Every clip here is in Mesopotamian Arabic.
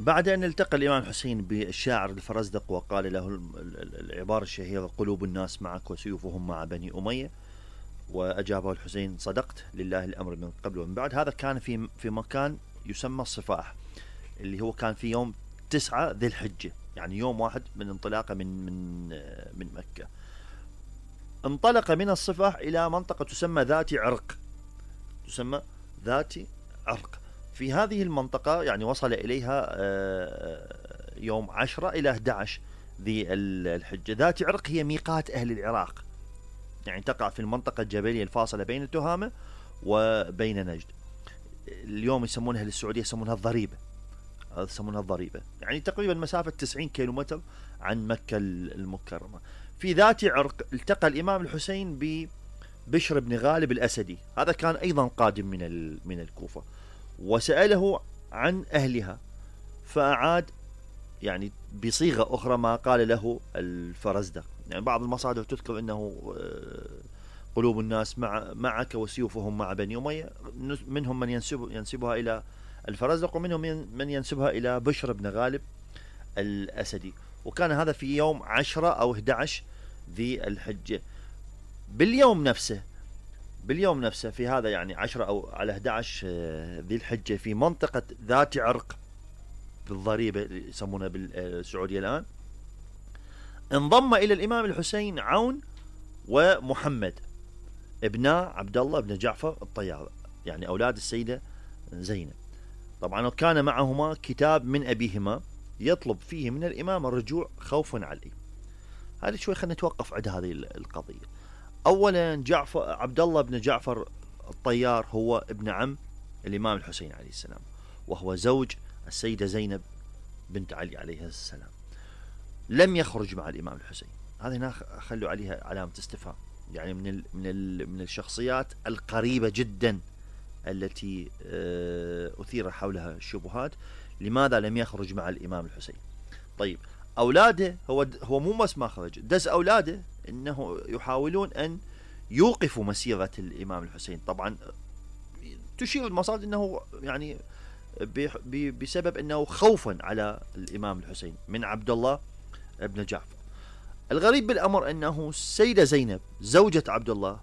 بعد أن التقى الإمام الحسين بالشاعر الفرزدق وقال له العبارة الشهيرة: قلوب الناس معك وسيوفهم مع بني أمية، وأجابه الحسين: صدقت، لله الأمر من قبل ومن بعد. هذا كان في مكان يسمى الصفاح، اللي هو كان في يوم 9 ذي الحجة، يعني يوم واحد من انطلاقه من مكة. انطلق من الصفاح إلى منطقة تسمى ذات عرق، تسمى ذات عرق. في هذه المنطقة يعني وصل إليها يوم 10 إلى 11 ذي الحجة. ذات عرق هي ميقات أهل العراق، يعني تقع في المنطقة الجبلية الفاصلة بين التهامة وبين نجد. اليوم يسمونها للسعودية يسمونها الضريبة، يسمونها الضريبة، يعني تقريبا مسافة 90 كيلومتر عن مكة المكرمة. في ذات عرق التقى الإمام الحسين ببشر بن غالب الأسدي، هذا كان أيضا قادم من الكوفة، وسأله عن أهلها، فأعاد يعني بصيغة أخرى ما قال له الفرزدق. يعني بعض المصادر تذكر أنه قلوب الناس معك وسيوفهم مع بني أمية، منهم من ينسبها إلى الفرزدق، ومنهم من ينسبها إلى بشر بن غالب الأسدي. وكان هذا في يوم 10 أو 11 ذي الحجة. باليوم نفسه في هذا يعني 10 أو على 11 ذي الحجة، في منطقة ذات عرق بالضريبة اللي يسمونها بالسعودية الآن، انضم إلى الإمام الحسين عون ومحمد ابنا عبد الله بن جعفر الطيار، يعني أولاد السيدة زينب. طبعا كان معهما كتاب من أبيهما يطلب فيه من الإمام الرجوع خوفا عليه. هذه شوي خلينا نتوقف عند هذه القضية. أولا عبد الله بن جعفر الطيار هو ابن عم الإمام الحسين عليه السلام، وهو زوج السيدة زينب بنت علي عليه السلام. لم يخرج مع الإمام الحسين، هذه هنا خلوا عليها علامة استفهام، يعني من الشخصيات القريبة جدا التي أثير حولها الشبهات. لماذا لم يخرج مع الإمام الحسين؟ طيب أولاده، هو مو بس ما خرج، دز أولاده إنه يحاولون أن يوقفوا مسيرة الإمام الحسين. طبعا تشير المصادر أنه يعني بسبب أنه خوفا على الإمام الحسين من عبد الله ابن جعفر. الغريب بالأمر أنه السيدة زينب زوجة عبد الله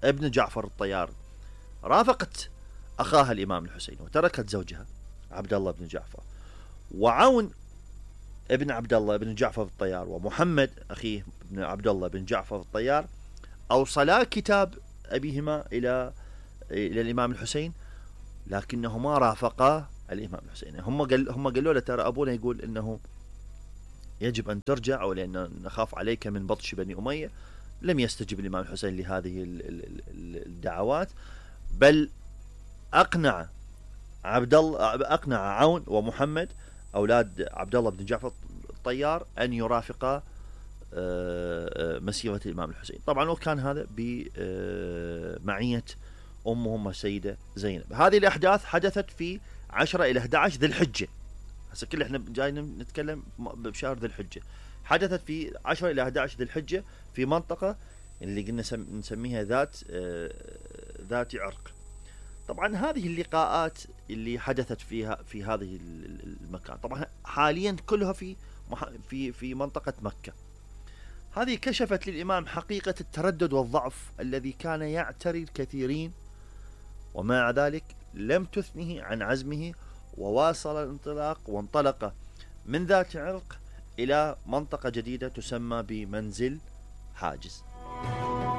ابن جعفر الطيار رافقت أخاها الإمام الحسين وتركت زوجها عبد الله بن جعفر، وعون ابن عبد الله بن جعفر الطيار ومحمد أخيه ابن عبد الله بن جعفر الطيار أوصلا كتاب أبيهما إلى الإمام الحسين، لكنهما رافقا الإمام الحسين. هم قالوا له ترى أبونا يقول إنه يجب أن ترجع، أو لأن نخاف عليك من بطش بني أمية. لم يستجب الإمام الحسين لهذه الدعوات، بل أقنع عون ومحمد أولاد عبد الله بن جعفر الطيار أن يرافقا مسيرة الإمام الحسين. طبعا وكان هذا بمعية أمهم السيدة زينب. هذه الأحداث حدثت في 10 إلى 11 ذي الحجة، هسه كل احنا جايين نتكلم بشهر ذي الحجة. حدثت في 10 إلى 11 ذي الحجة في منطقة اللي قلنا نسميها ذات عرق. طبعا هذه اللقاءات اللي حدثت في هذه المكان طبعا حاليا كلها في منطقة مكة. هذه كشفت للإمام حقيقة التردد والضعف الذي كان يعتري الكثيرين، ومع ذلك لم تثنه عن عزمه، وواصل الانطلاق وانطلق من ذات عرق إلى منطقة جديدة تسمى بمنزل حاجز.